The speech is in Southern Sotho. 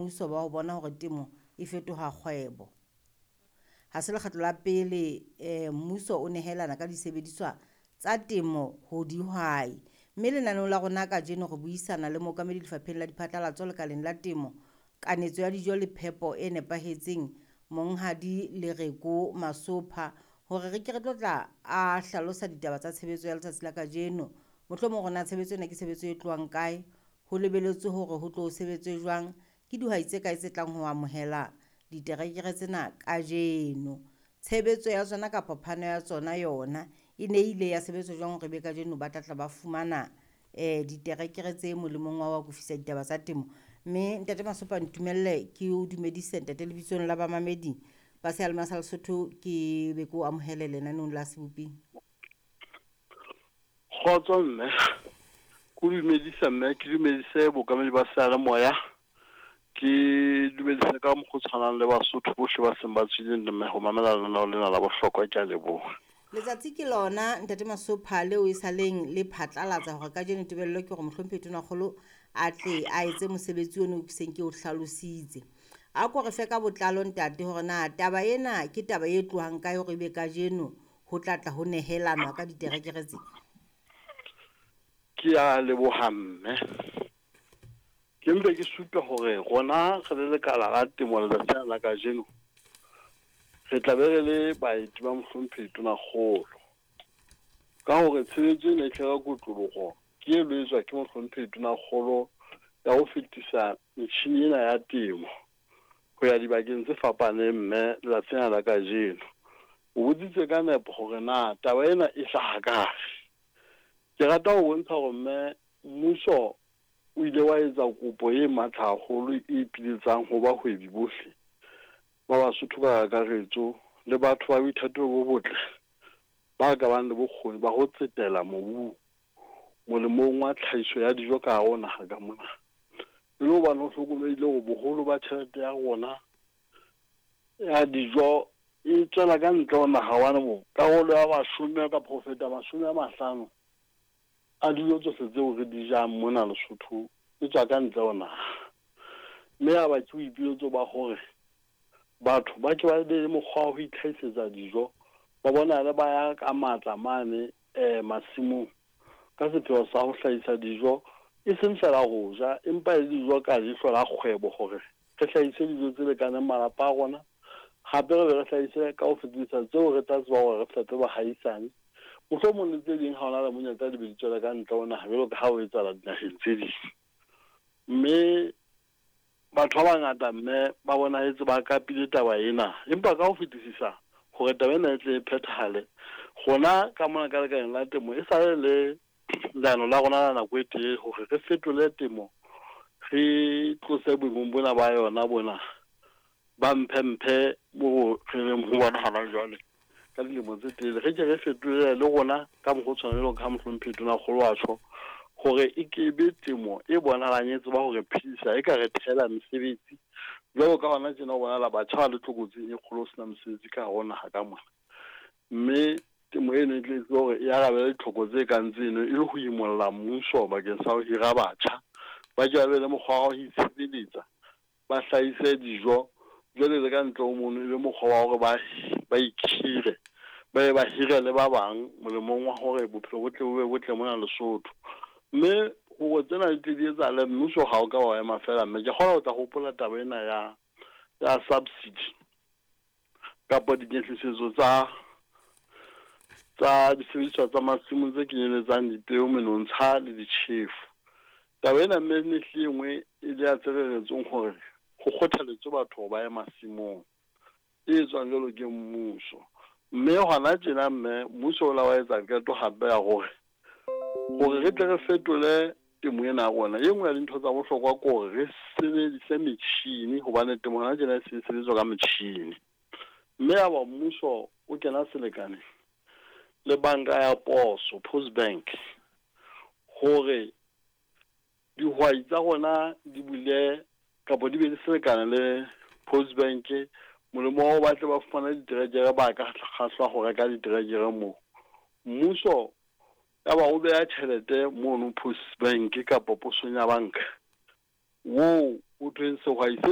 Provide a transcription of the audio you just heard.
Mmuso ba ho bona hore temo e fetoha kgwebo. Ha se lekgetlo la pele mmuso o nehelana ka disebediswa tsa temo ho dihwai. Mme lenaneong la rona kajeno re buisana le mookamedi lefapheng la diphatlalatso lekaleng la temo, kanetso ya dijo le phepo e nepahetseng, Monghadi Lereko Masopha, hore re ke re tlo tla a hlalosa ditaba tsa tshebetso ya letsatsi la kajeno. Mohlomong hore na tshebetso ena ke tshebetso e tlohang kae, ho lebeletswe hore ho tlo sebetswe jwang, ke dihwai tse kae tse tlang ho amohela diterekere tsena kajeno. Tshebetso ya tsona kapa phano ya tsona yona e ne ile ya sebetswa jwang hore ebe kajeno ba tla tla ba fumana diterekere tse molemong wa ho akofisa ditaba tsa temo. Mme Ntate Masopa, ntumelle ke o dumedise ntate lebitsong la bamamedi ba seyalemoya sa Lesotho, ke be ke o amohele lenaneong la Seboping. Kgotso mme, ke o dumedisa mme, ke dumedise bookamedi ba seyalemoya, ke dumedise ka mokgwa o tshwanang le Basotho bohle ba seng ba tswile mme ho mamela lenaneo lena la bohlokwa. Ke a leboha. Letsatsi ke lona Ntate Masopha leo e saleng le phatlalatsa hore kajeno tebello ke hore mohlomphehi Tonakgolo a tle a etse mosebetsi ono ke seng ke o hlalositse. A ko re fe ka botlalo ntate hore na taba ena ke taba e tlohang kae hore ebe kajeno ho tla tla ho nehelanwa ka diterekere tse. Ke a leboha mme. Ke mpe ke supe hore rona re le lekala la temo letsatsi lena la kajeno re tla be re le baeti ba mohlomphehi Tonakgolo. Ka hore tshebetso ena e tle ka kotloloho ke e lo etswa ke mohlomphehi Tonakgolo ya ho fetisa metjhini ena ya temo ho ya dibakeng tse fapaneng mme letsatsi lena la kajeno. O botsitse ka nepo hore na taba ena e hlaha kae. Ke rata ho bontsha hore mme mmuso o ile wa etsa kopo e matla haholo e ipiletsang ho bahwebi bohle ba Basotho ka kakaretso le batho ba boithatelo bo botle ba ka bang le bokgoni ba ho tsetela mobung molemong wa tlhahiso ya dijo ka hare ho naha ka mona. E le hobane ho hlokomehile hore boholo ba tjhelete ya rona ya dijo e tswela ka ntle ho naha hobane bo karolo ya mashome kapa ho feta 50 a dijo tsohle tseo re di jang mona Lesotho e tswa ka ntle ho naha. Mme ya ba ke boipiletso ba hore batho ba ke ba be le mokgwa wa ho itlhahisetsa dijo, ba bonahale ba ya ka matla mane masimong ka sepheo sa ho hlahisa dijo, e seng feela ho ja, empa e le dijo ka leihlo la kgwebo hore re hlahise dijo tse lekaneng malapa a rona, hape re be re hlahise ka ho fetisisa tseo re tla tseba hore re fepe bahaisane, mohlomong le tse ding ha hona le monyetla di be di tswele ka ntle ho naha jwalo ka ha ho etsahala dinaheng tse ding. Mme batho ba bangata mme ba bonahetse ba kapile taba ena, empa ka ho fetisisa hore taba ena e tle e phethahale, rona ka mona ka lekaleng la temo e sale le leano la rona la nako e telele hore re fetole temo, re tlose boemong bona ba yona bona ba mphe-mphe moo re leng ho bona hona jwale ka dilemo tse telele, re ke re fetolele le rona ka mokgwa o tshwanang jwalo ka ha mohlomphehi Tonakgolo a tjho hore e ke be temo e bonahalang e tseba hore phedisa, e ka re thehela mesebetsi jwalo ka hona tjena ho bonahala batjha ba le tlokotsing e kgolo ho sena mesebetsi ka hare ho naha ka mona. Mme temo eno e tle e tsebe hore e arabele ditlhoko tse kang tseno e le ho imolla mmuso bakeng sa ho hira batjha, ba ke ba be le mokgwa wa ho itshebeletsa, ba hlahise dijo jwale le ka ntle ho mono e be mokgwa wa hore ba ba ikhire, ba be ba hire le ba bang molemong wa hore bophelo bo tle bo be botle mona Lesotho. Mme hore tsena di tle di etsahale, mmuso ha o ka wa ema feela mme ke kgona ho tla hopola taba ena ya ya subsidy kapa dinyehlisetso tsa tsa disebediswa tsa masimong tse kenyeletsang dipeo, menontsha le ditjhefo. Taba ena mme e ne hlile e nngwe e le ya tse reretsweng hore ho kgothaletswe batho hore ba ye masimong, e etswang jwalo ke mmuso. Mme hona tjena mme mmuso o la wa etsa qeto hape ya hore hore re tle re fetole temo ena ya rona, e nngwe ya dintho tsa bohlokwa ke hore re sebedise metjhini hobane temo hona tjena e se e sebetswa ka metjhini. Mme ya ba mmuso o kena selekane le banka ya poso, Post Bank, hore dihwai tsa rona di bule kapa di be le selekane le Post Bank molemo wa ho ba tle ba fumane diterekere, ba ka kgahlwa ho reka diterekere moo. Mmuso ya ba o beha tjhelete mono Post Bank kapa posong ya banka, woo Ho thweng sehwai se